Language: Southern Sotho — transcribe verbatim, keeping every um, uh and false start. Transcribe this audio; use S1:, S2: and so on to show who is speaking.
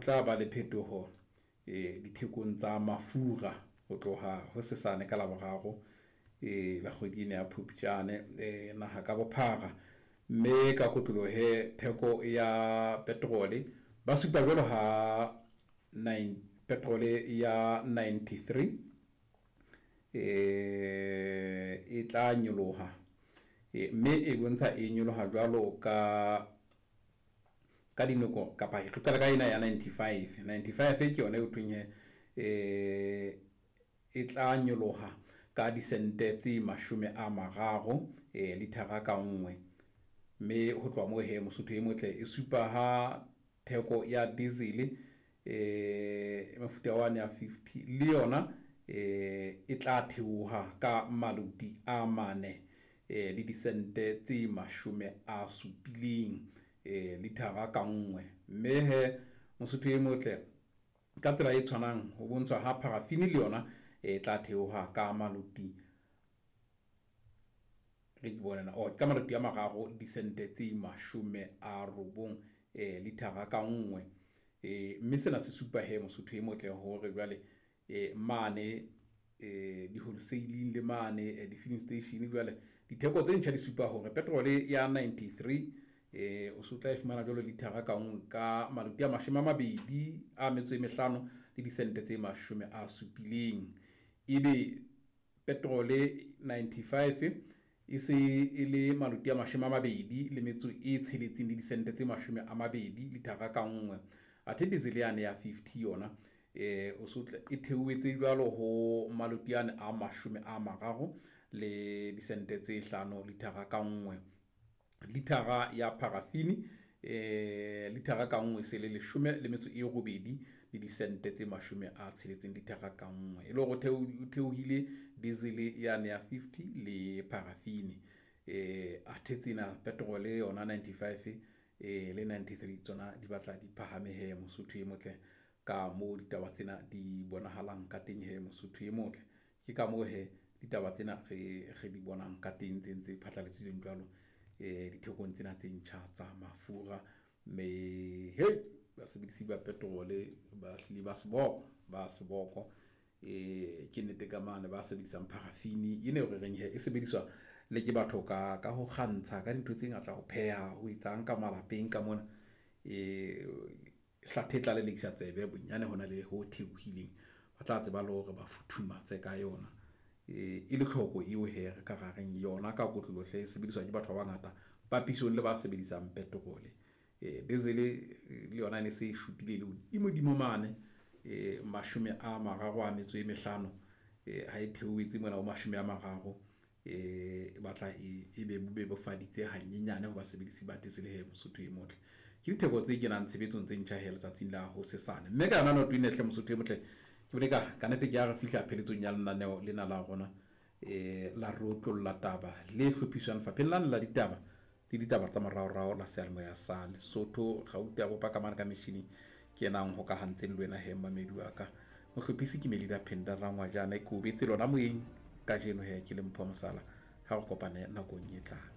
S1: tla ba le phetoho e dithekong tsa mafura ho tloha hosesane ka Laboraro e la kgwedi ena ya Phupjane e naha ka bophara. Mme ka kotloloho he theko ya petrol ba supa jwalo ha nine petrol ya ninety-three e tla nyoloha, mme e bontsha e nyoloha jwalo ka ka dinako kapa re qale ka ena ya ninety-five. Ninety-five ke yona eo thweng hee e tla nyoloha ka disente tse mashome a mararo lithara ka nngwe. Mme ho tloha moo hee Mosotho e motle e supa ha theko ya diesel e mofuta wane ya fifty le yona e tla theoha ka maluti a mane le disente tse mashome a supileng lithara ka nngwe. Mme hee Mosotho e motle ka tsela e tshwanang ho bontshwa ha paraffin le yona e tla theoha ka maluti re ke bone na ka maluti a mararo disente tse mashome a robong lithara ka nngwe. Mme sena se supa hee Mosotho e motle hore jwale mane di-wholesale-ing le mane di-filling station jwale ditheko tse ntjha di supa hore petrol ya ninety-three o so tla e fumana jwalo lithara ka nngwe ka maluti a mashome a mabedi a metso e mehlano le disente tse mashome a supileng. Ebe petrol ninety-five e se e le maluti a mashome a mabedi le metso e tsheletseng le disente tse mashome a mabedi lithara ka nngwe. Athe diesel yane ya fifty yona o so e theohetse jwalo ho maluti ane a mashome a mararo le disente tse hlano lithara ka nngwe. Lithara ya paraffin lithara ka nngwe se le leshome le metso e robedi le disente tse mashome a tsheletseng lithara ka nngwe. E le hore o theohile diesel yane ya fifty le paraffin athe tsena petrol yona ninety-five le ninety-three tsona di batla di phahame hee Mosotho e motle ka moo ditaba tsena di bonahalang ka teng hee Mosotho e motle. Ke ka moo hee ditaba tsena re re di bonang ka teng tse ntse phatlaladitsweng jwalo dithekong tsena tse ntjha tsa mafura. Mme basebedisi ba petrol ba hlile ba seboko, ba seboko. Ke nnete ka mane ba sebedisang paraffin ena eo re reng hee e sebediswa le ke batho ka ka ho kgantsha ka dintho tse ngata, ho pheha, ho etsang ka malapeng ka mona. E hlathe e tla lelekisa tsebe bonyane hona le ho theohileng, ba tla tseba le hore ba futhumatse ka yona. E le tlhoko eo hee re ka ra reng yona ka kotloloho hle e sebediswa ke batho ba bangata papisong le ba sebedisang petrol. Diesel le yona e ne se e shotile le hodimo-dimo mane mashome a mararo a metso e mehlano ha e theohetse mona ho mashome a mararo, e batla e be bebofaditse hanyenyane ho basebedisi ba diesel hee Mosotho e motle. Ke ditheko tse kenang tshebetsong tse ntjha hee letsatsing la hosesane. Mme ka yona noto ena hle Mosotho e motle, ke bone ka kannete ke ha re fihla pheletsong ya lenaneo lena la rona la re otlolla taba le hlophiswang lefapheng lane la ditaba le ditaba tsa moraorao la seyalemoya sa Lesotho. Gauta bopa ka mane ka metjhining ke ena a nhokahantseng le wena hee mmamedi wa ka. Mohlophisi ke Melida Phenda Rangwajane, ke o betse lona moyeng kajeno hee ke le Mpho Mosala. Ha re kopane nakong e tlang.